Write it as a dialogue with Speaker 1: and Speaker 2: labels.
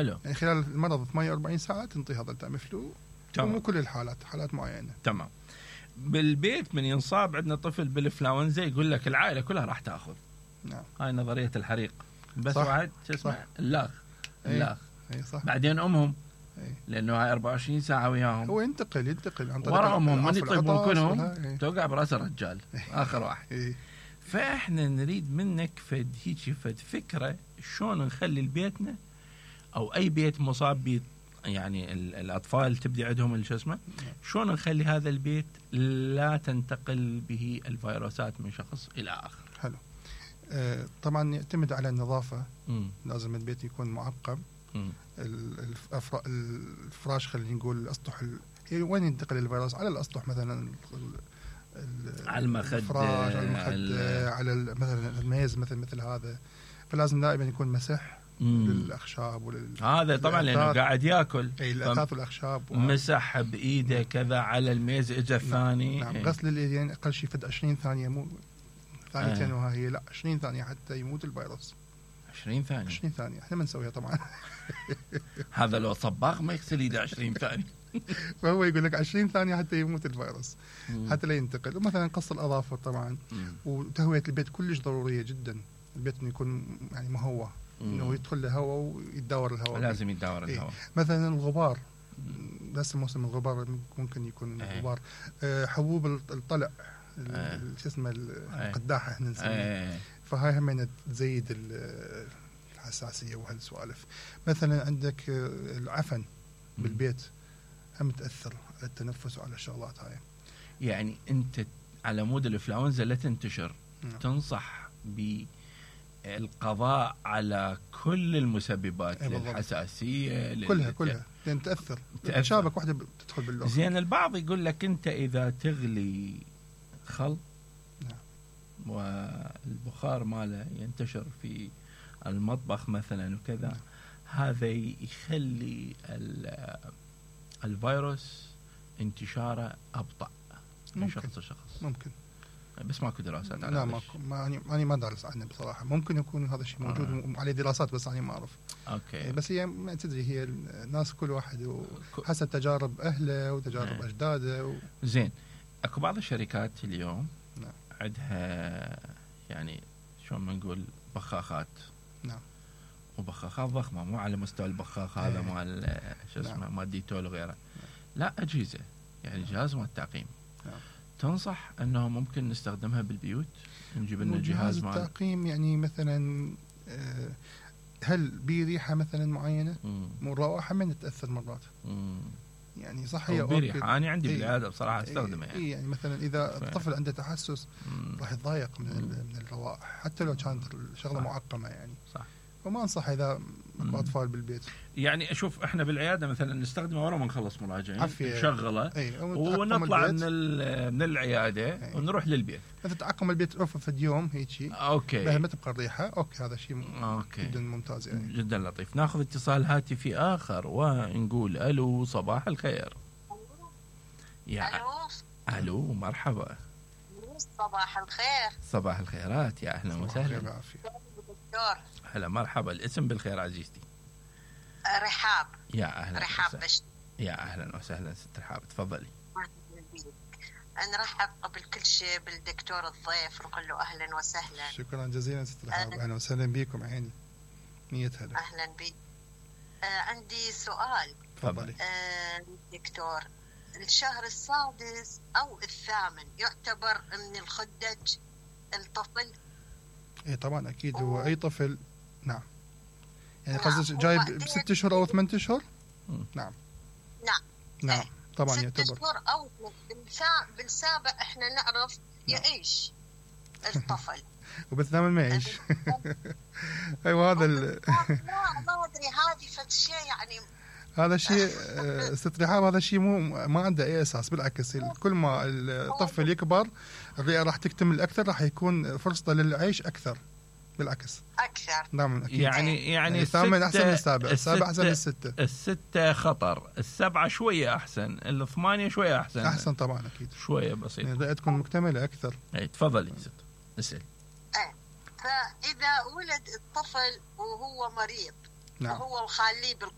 Speaker 1: حلو.
Speaker 2: يعني خلال المرض 48 ساعة تنطي هذا التاميفلو. مو كل الحالات، حالات معينة.
Speaker 1: تمام. بالبيت من ينصاب عندنا طفل بالإنفلونزا يقول لك العائلة كلها راح تأخذ.
Speaker 2: نعم.
Speaker 1: هاي نظرية الحريق. بس
Speaker 2: صح.
Speaker 1: واحد شو اسمه اللاغ.
Speaker 2: اي صح.
Speaker 1: بعدين أمهم لأنه هاي 24 ساعة وياهم.
Speaker 2: هو ينتقل عن طريق
Speaker 1: ورا أمهم من يطيبون كلهم توقع براس الرجال آخر واحد. فإحنا نريد منك فد فكرة شلون نخلي بيتنا أو أي بيت مصاب يعني الأطفال تبدي عندهم شو اسمه، شلون نخلي هذا البيت لا تنتقل به الفيروسات من شخص إلى آخر.
Speaker 2: حلو. طبعا يعتمد على النظافة. لازم البيت يكون معقم. الفراش خلينا نقول الأسطح وين ينتقل الفيروس؟ على الأسطح مثلا،
Speaker 1: على المخدة،
Speaker 2: الفراش، على المخدة، على مثلا الميز مثل هذا. فلازم دائما يكون مسح للأخشاب
Speaker 1: هذا طبعا لأنه قاعد يأكل
Speaker 2: الأثاث والأخشاب
Speaker 1: مسح بإيده كذا على الميز إجا الثاني.
Speaker 2: نعم. غسل اليدين أقل شيء فد 20 ثانية، مو ثانيتين وهي لا 20 ثانية حتى يموت الفيروس.
Speaker 1: 20 ثانية
Speaker 2: احنا ما نسويها طبعا.
Speaker 1: هذا لو صباغ ما يغسل يده 20 ثانية.
Speaker 2: فهو يقول لك 20 ثانية حتى يموت الفيروس، حتى لا ينتقل. ومثلا قص الأظافر طبعا. وتهوية البيت كلش ضرورية جدا. البيت انه يكون يعني مهوى، انه يدخل له هواء ويتداور الهواء.
Speaker 1: لازم يتداور الهواء.
Speaker 2: مثلا الغبار، بس موسم الغبار ممكن يكون غبار. حبوب الطلع، شو اسمه القداحة احنا نسميها. فهاي هم تزيد الحساسية وهالسوالف. مثلا عندك العفن بالبيت هم تأثر على التنفس وعلى الشغلات هاي.
Speaker 1: يعني انت على مود الإنفلونزا لا تنتشر. تنصح بالقضاء على كل المسببات للحساسية
Speaker 2: كلها لأن تأثر. شابك واحدة تدخل باللغة.
Speaker 1: زين البعض يقول لك انت إذا تغلي خل والبخار ماله ينتشر في المطبخ مثلا وكذا، هذا يخلي الفيروس انتشاره أبطأ من شخص لشخص.
Speaker 2: ممكن،
Speaker 1: بس ماكو دراسات على
Speaker 2: لا ماكو. أنا ما دارس عنه بصراحة. ممكن يكون هذا الشيء موجود عليه دراسات بس أنا ما أعرف.
Speaker 1: أوكي.
Speaker 2: بس هي ما تدري، هي الناس كل واحد حسب تجارب أهله وتجارب أجداده
Speaker 1: زين. أكو بعض الشركات اليوم عندها يعني شو ما نقول بخاخات.
Speaker 2: نعم.
Speaker 1: وبخاخات ضخمة، مو على مستوى البخاخ هذا مال شو اسمه مال ديتول وغيره. لا أجهزة، يعني جهاز مال التعقيم. تنصح أنه ممكن نستخدمها بالبيوت؟ نجيب لنا جهاز مال
Speaker 2: التعقيم. يعني مثلا هل بريحة مثلا معينة؟ مو الروائح من تتأثر مرات. يعني صح هي
Speaker 1: بريحة. أنا عندي بالعادة بصراحة استخدمها.
Speaker 2: يعني مثلا إذا الطفل عنده تحسس راح يتضايق من الروائح حتى لو كانت الشغلة معقمة يعني.
Speaker 1: صح.
Speaker 2: وما أنصح إذا أطفال بالبيت.
Speaker 1: يعني أشوف إحنا بالعيادة مثلا نستخدمه ورا ما نخلص مراجعة نشغله ونطلع من العيادة ونروح للبيت.
Speaker 2: مثلا تعقم البيت في اليوم هيك.
Speaker 1: أوكي.
Speaker 2: بها ما تبقى الريحة. أوكي هذا شيء جدا ممتاز يعني.
Speaker 1: جدا لطيف. ناخذ اتصال هاتفي آخر ونقول ألو صباح الخير. ألو مرحبا.
Speaker 3: صباح الخير.
Speaker 1: صباح الخيرات، يا أهلا وسهلا. هلا مرحبا. الاسم بالخير عزيزتي.
Speaker 3: رحاب.
Speaker 1: يا أهلا.
Speaker 3: رحاب بشت.
Speaker 1: يا أهلا وسهلا ست رحاب، تفضلي.
Speaker 3: نرحب قبل كل شيء بالدكتور الضيف ونقول له أهلا وسهلا.
Speaker 2: شكرا جزيلا ست رحاب. أهلا وسهلا بكم عيني. مية هلا.
Speaker 3: أهلا بك. عندي سؤال.
Speaker 2: تفضلي.
Speaker 3: دكتور، الشهر السادس أو الثامن يعتبر من الخدج الطفل؟
Speaker 2: ايه طبعا اكيد. هو اي طفل. نعم. يعني قصدك جايب ب6 أشهر او 8 أشهر؟ نعم. نعم طبعا يعتبر
Speaker 3: 6 أشهر او بالسابع احنا نعرف يعيش الطفل.
Speaker 2: وبالثامن ما يعيش. ايوه هذا
Speaker 3: ما ادري هذه فشي يعني.
Speaker 2: هذا الشيء ست رحاب، هذا الشيء ما عنده اي اساس. بالعكس كل ما الطفل يكبر الرئه راح تكتمل اكثر، راح يكون فرصته للعيش اكثر. بالعكس
Speaker 3: اكثر.
Speaker 2: نعم أكيد.
Speaker 1: يعني
Speaker 2: الثامن احسن من السابع، السابع احسن من الستة.
Speaker 1: الستة خطر، السبعة شوية احسن، الثمانية شوية احسن
Speaker 2: طبعا اكيد
Speaker 1: شوية بسيط.
Speaker 2: يعني الرئه تكون مكتمله اكثر.
Speaker 1: اي تفضلي ست اسال.
Speaker 3: فاذا ولد الطفل وهو مريض
Speaker 2: نعم.
Speaker 3: وهو مخليه